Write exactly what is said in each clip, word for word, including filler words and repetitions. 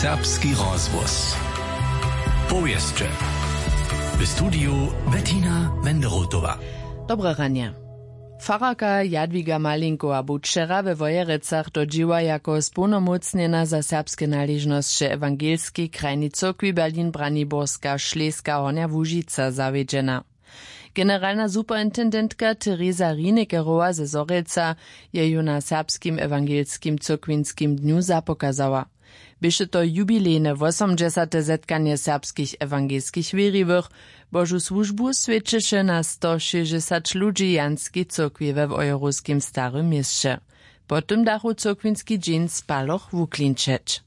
Serbski rozhłos. Powěsće. W studiju Bettina Wenderotowa. Dobre ranje. Fararka Jadwiga Malinkowa bu wčera we Wojerecach do dźěła jako społnomócnjena za serbske naležnosće ewangelskej krajnej cyrkwi Berlin Braniborska Šleska Hornja Łužica zawjedźena. Generalna superintendentka Teresa Rinekerowa ze Zhorjelca je ju na serbskim ewangelskim cyrkwinskim dnju zapokazała. Běše to jubilejne wosomdźesate zetkanje serbskich ewangelskich wěriwych. Božu słužbu swjećeše na stošěsćdźesać ludźi w janskej cyrkwi we wojerowskim starym měsće. Po tym dachu cyrkwinski dźeń spaloch wuklinčeć.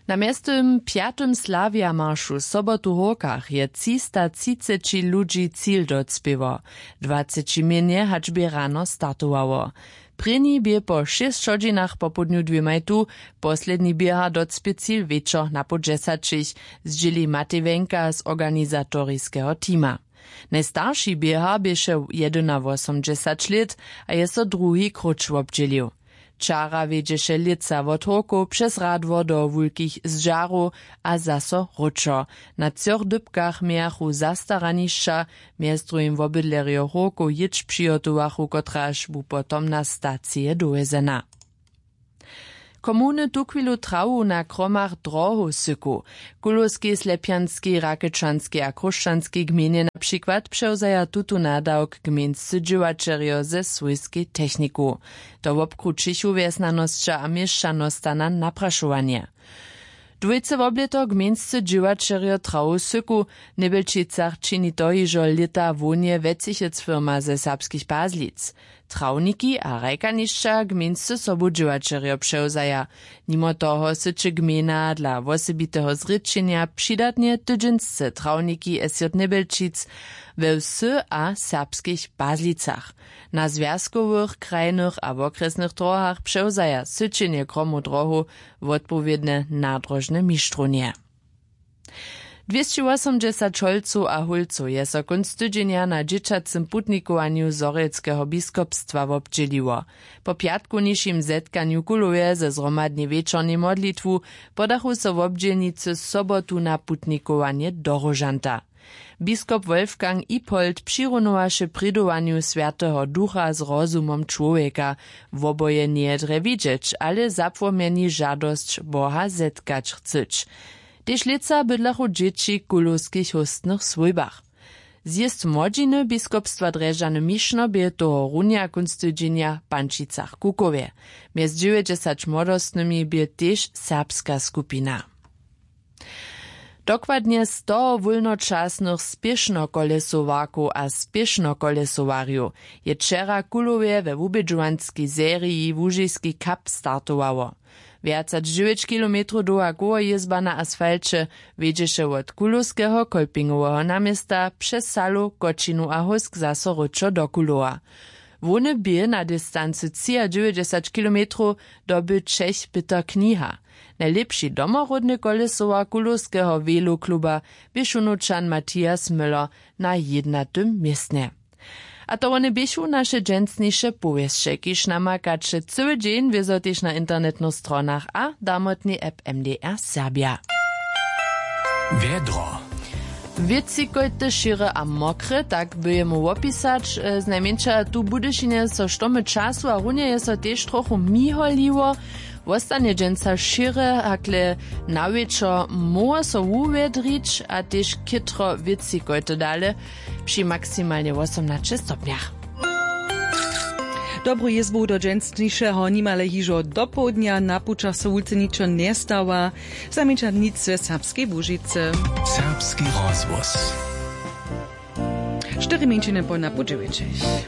Na mjeztym pjatym slawija maršu sobotu w hórkach je třista třiceći ludźi cil docpěło. Dwaceći mjenje hač bě rano startowało. Prěni bě po šěsć hodźinach popołdnju dwěmajtu, posledni běhar docpě cil wječor na poł dźesaćich, zdźěli matej wenka z organizatoriskeho teama. Najstarši běhar běše jedynawosomdźesać lět a je so druhi króć wobdźělił. Wčara wjedźeše lětsa wot hórkow přez radwor do wulkich zdźarow a zaso wróćo. Na třoch dypkach mějachu zastaranišća, mjez druhim wobydlerjo hórkow jětš přihotowachu kotraž bu potom na stacije dowjezena. Komuny tuchwilu trawu na kromach drohow syku. W kulowskej slepjanskej rakečanskej a chróšćanskej gmejnje na přikład přewzaja tutón nadawk gmejnscy dźěłaćerjo ze swójskej techniku. To wobkrućichu wjesnjanosća a měšćanostana naprašowanje. Dwójce woblěto gmejnscy dźěłaćerjo trawu syku. W njebelčicach čini to hižo lěta hłownje wjecichec firma ze serbskich pazlic. Trawniki a hrajkanišća gmejnscy sobudźěłaćerjo přewzaja. Nimo toho syće gmejna dla wosebiteho zrěčenja přidatnje tydźensce trawniki esjot njebelčic we wsy a serbskich pazlicach. Na zwjazkowych krajnych a wokrjesnych drohach přewzaja syćenje kromow drohow wotpowědne nadrožne mištrownje. Dwěsćiwosomdźesać holcow a hólcow je so kónc tydźenja na dźěćacym putnikowanju zhorjelskeho biskopstwa wobdźěliło. Po pjatkownišim zetkanju w kulowje ze zhromadnej wječornej modlitwu podachu so wobdźělnicy sobotu na putnikowanje do róžanta. Biskop wolfgang ippold přirunowaše prědowanju swjateho ducha z rozumom čłowjeka. Woboje njeje drje widźeć, ale zapłomjeni žadosć boha zetkać chcyć. Tež lětsa bydlachu dźěći w kulowskich hóstnych swójbach. Zjězd młodźiny biskopstwa drježdźany mišno bě tohorunja kónc tydźenja w pančicach kukowje. Mjez dźewjećdźesać młodostnymi bě tež serbska skupina. Dokładnje sto wólnočasnych spěšnokolesowarkow a spěšnokolesowarjow je wčera w kulowje we wubědźowanskej seriji łužiski cup startowało. Wjac hač dźewjeć kilometrow dołha kołojězba na asfalće wjedźeše wot kulowskeho kolpingoweho naměsta přez salu kočinu a hósk zaso wróćo do kulowa. Hłowny bě na distancy třiadźewjećdźesać kilometrow dobył čech pětr kniha. Najlěpši domoródny kolesowar kulowskeho velokluba bě šunowčan matthias müller na jědnatym městnje. A to wone běchu naše dźensniše powěsće kiž namakaće cyły dźeń wězo tež na internetnych stronach a damotnej app mdr serbja. Wjedro. Wětřikojte šěre a mokre tak by jemu wopisać znajmjeńša tu w budyšinje so štomy času a runje je so tež trochu miholiło. Wostanje dźensa šěre hakle na wječor móhło so wuwjedrić a tež chětro wětřikojte dale při maksimalnje wosomnaće stopnjach. Dobru jězbu do dźensnišeho nimale hižo dopołdnja na pućach so wulce ničo njestawa. Znajmjeńša nic ze serbskej łužicy. Serbski rozhłos. Štyri mjeńšiny po napoł dźewjećich.